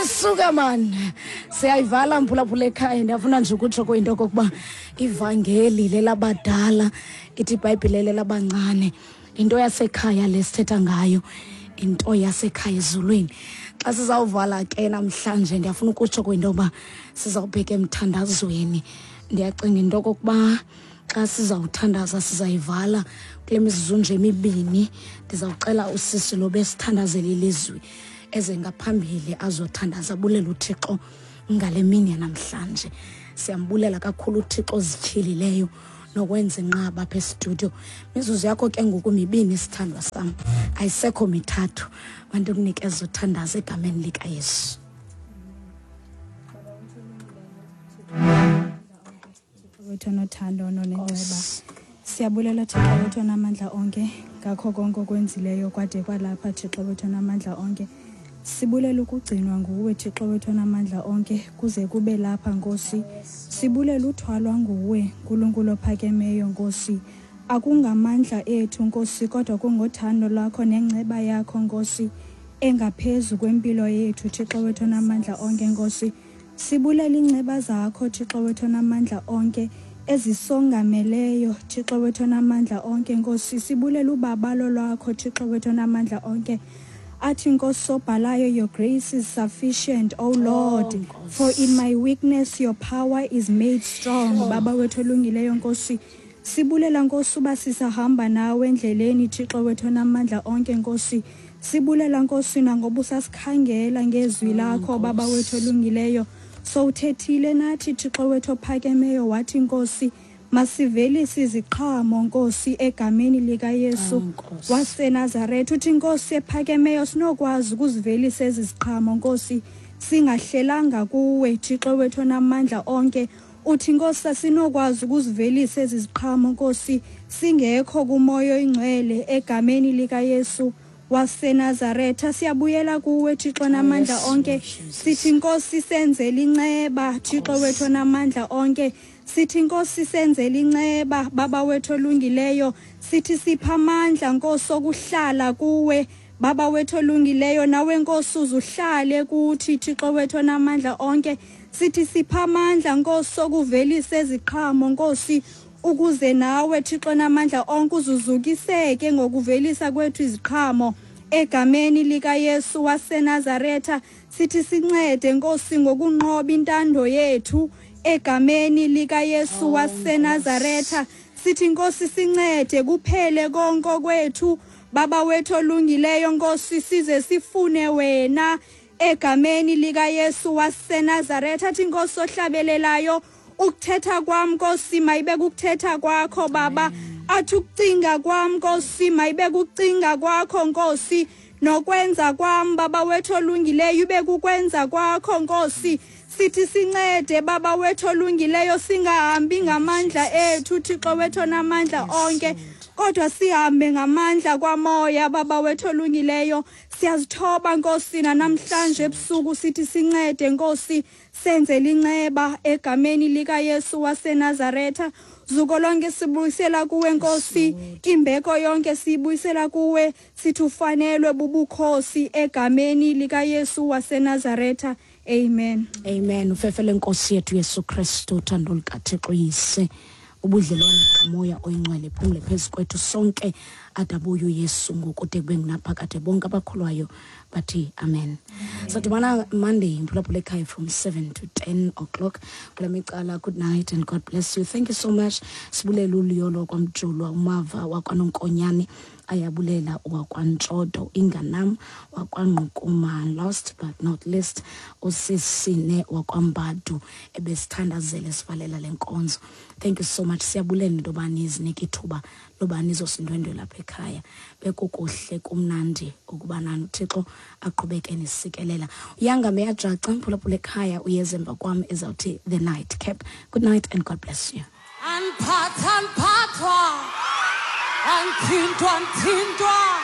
Hayi suka man, siyayivala mphulaphula ekhaya. Ndiyafuna nje ukutsho kuyinto okokuba ivangeli lelabadala, ithi ibhayibhile lelabancane. Into yasekhaya le sithetha ngayo, into yasekhaya ezulwini. Xa sizawuvala ke namhlanje, ndiyafuna ukutsho kwinto yoba sizawubheka emthandazweni. Ndiyacinga into okokuba xa sizawuthandaza sizayivala kule mizuzu nje emibini. Ndizawucela usisi lo besithandazela ilizwi eze ngaphambili azothandaza, abulela uThixo ngale mini yanamhlanje. Siyambulela kakhulu uThixo ozityhilileyo nokwenza inqaba apha estudio. Mizuzu yakho ke ngoku mibini, sithandwa sam, ayisekho mithathu. Bantu kunikeza uthandaza egameni likaYesu. Wethu onothando nonenceba, siyabulela Thixo wethu onamandla onke ngakho konke okwenzileyo kwade kwalapha. Thixo wethu onamandla onke, sibulela ukugcinwa nguwe, Thixo wethu onamandla onke, kuze kube lapha, Nkosi. Sibulela uthwalwa nguwe, Nkulunkulu ophakemeyo, Nkosi. Akungamandla ethu, Nkosi, kodwa kungothando lwakho nenceba yakho, Nkosi, engaphezu kwempilo yethu, Thixo wethu onamandla onke, Nkosi. Sibulela iinceba zakho, Thixo wethu onamandla onke, ezisongameleyo, Thixo wethu onamandla onke, Nkosi. Sibulela ubabalo lwakho, Thixo wethu onamandla onke. Athi Nkosi obhalayo, "Your grace is sufficient, O Lord, for in my weakness your power is made strong." Baba wethu olungileyo, Nkosi, sibulela, Nkosi, uba sisahamba nawe endleleni, Thixo wethu onamandla onke, Nkosi. Sibulela, Nkosi, nangoba usasikhangela ngezwi lakho, Baba wethu olungileyo. Sowuthethile nathi, Thixo wethu ophakemeyo, wathi, Nkosi, masivelise iziqhamo, Nkosi, egameni likaYesu waseNazaretha. Uthi, Nkosi ephakemeyo, sinokwazi ukuzivelisa ezi ziqhamo, Nkosi, singahlelanga kuwe, Thixo wethu onamandla onke. Uthi, Nkosi, asinokwazi ukuzivelisa ezi ziqhamo, Nkosi, singekho kuMoya Oyingcwele egameni likaYesu waseNazaretha. Siyabuyela kuwe, Thixo namandla onke. Sithi, Nkosi, senzele inceba, Thixo wethu onamandla onke. Sithi, Nkosi, senzele inceba, Baba wethu olungileyo. Sithi sipha amandla, Nkosi, okuhlala kuwe, Baba wethu olungileyo, nawe, Nkosi, uzuhlale kuthi, Thixo wethu onamandla onke. Sithi sipha amandla, Nkosi, okuvelisa eziqhamo, Nkosi, ukuze nawe, Thixo namandla onke, uzuzukiseke ngokuvelisa kwethu iziqhamo egameni likaYesu waseNazaretha. Sithi sincede, Nkosi, ngokunqoba intando yethu egameni likaYesu waseNazaretha. Sithi, Nkosi, sincede kuphele konke kwethu, Baba wethu olungileyo, Nkosi, size sifune wena egameni likaYesu waseNazaretha. Athi Nkosi ohlabelelayo, "Ukuthetha kwam, Nkosi, mayibe kukuthetha kwakho, Baba." Athi, "Ukucinga kwam, Nkosi, mayibe kukucinga kwakho, Nkosi, nokwenza kwam, Baba wethu olungileyo, ibe kukwenza kwakho, Nkosi." Sithi sincede, Baba wethu olungileyo, singahambi ngamandla ethu, Thixo wethu onamandla onke, kodwa sihambe ngamandla kwaMoya, Baba wethu olungileyo. Siyazithoba, Nkosi, namhlanje ebusuku. Sithi sincede, Nkosi, senzele inceba egameni likaYesu waseNazaretha. Zuko lonke sibuyisela kuwe, Nkosi. Imbeko yonke siyibuyisela kuwe. Sithi ufanelwe bubukhosi egameni likaYesu waseNazaretha. Amen. Amen. Ufefele Nkosi yethu Yesu Kristu, uthando lukaThixo Yise, ubudlelwane kaMoya Oyingcwele phumle phezu kwethu sonke adabuye uYesu ngokude kube ngunaphakade. Bonke abakholwayo bathi amen. Sadibana Monday, mphulaphula ekhaya, from 7 to 10 o'clock kula micala. Good night and God bless you. Thank you so much. Sibulela uLiyolo kwaMjulwa, uMava wakwaNonkonyane, ayabulela wakwaNtshodo, Inganam wakwaNgqukuma, last but not least usisine wakwaMbadu ebesithandazele sivalela le nkonzo. Thank you so much. Siyabulela into yoba nizinike ithuba loba nizosindwendwela apha ekhaya. Bekukuhle, kumnandi ukuba nani. UThixo aqhubeke nisikelela. Uyangame yajaca, mphulaphula ekhaya, uyeza emva kwam ezawuthi The Night Cap. Good night and God bless you. Aniphatha, aniphathwa, anithintwa, anithintwa.